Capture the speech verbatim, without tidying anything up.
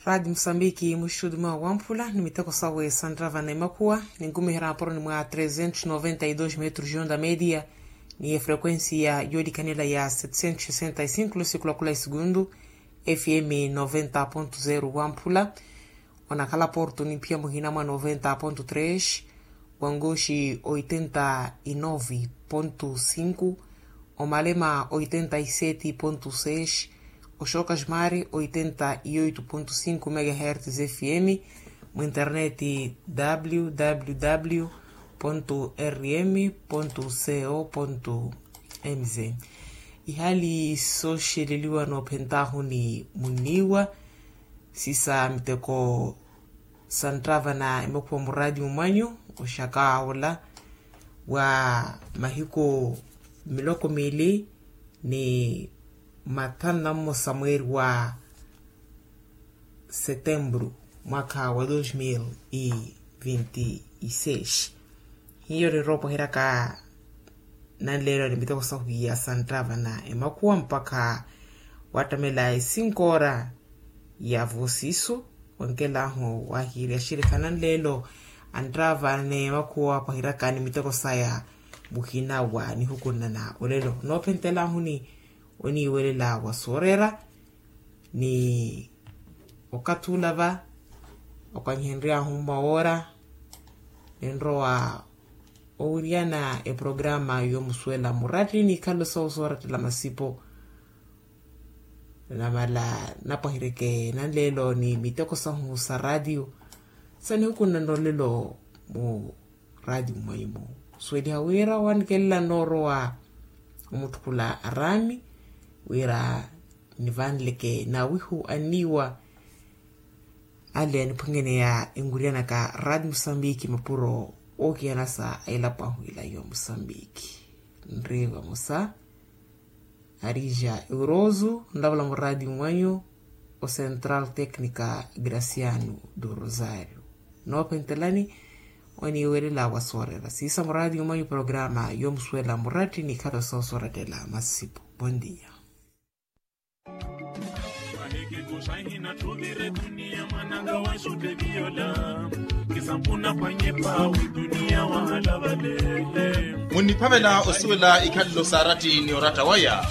Radi musambiki muxuxudu mwa wamphula ni miteko sawe sanravana emakhuwa, ninkumiherya mapuroni mwa trezentos noventa e dos metros de onda media, ni efrequencia yolikanela ya setecentos sessenta e cinco lusikulakhula e segundu. Fm noventa ponto zero wamphula, onakhala porto ni phiya muhina mwa noventa ponto tres, wangoxi oitenta e nove ponto cinco, omalema oitenta e sete ponto seis, oxokasmari oitenta e oito ponto cinco megahertz fm, mu internet www rm co mz. Ihali sooxeleliwa noophentahu ni munniwa, sisa miteko santtavana emakhuwa muraati mwanyu, oxaka ola wa mahiku miloko mili ni mathanu na mmosa mweeri wa setemburu, mwaka wa dos mil e vinte e seis. Hiyo ninrowa opwahiryaka nanleelo ni miteko sahu ya santtavana emakhuwa mpakha wattamela e cinco ora ya vosisu. Wankelahu wahiirya axirikha nanleelo anttavane emakhuwa opwahiryaka ni miteko saya muhina wa nihukunana olelo noophentelahuni oniiwelela wa sooreera. Ni okathi ula va okwanyihenry'ahu mmawoora ninrowa owiryana eprograma yoomusuwela muratti ni ikhalo sawo soorattela masipo. Namala napwahiryeke nanleelo ni miteko sahu sa ratio sa nihukunana olelo mu ratio mwaimo. Suweliha wira wanikelela noorowa omutthukula araami wira nivanleke nawihu anniwa ale aniphwengeneya enwiryanaka ratio musambiki mapuro ookiyanasa a elapo ahu ila yo musambiki. Nri vamosa arija euroso nlavula muraati mwanyu. Ocentral tecnica graciano do rosario noophentelani oniiwelela wa sooreera siisa muraati mwanyu programa yoomusuwela muratti ni ikhalo soosorettela masipo. Bondia. Munniphavela osuwela ikhalelo sa aratti ni oratta waya.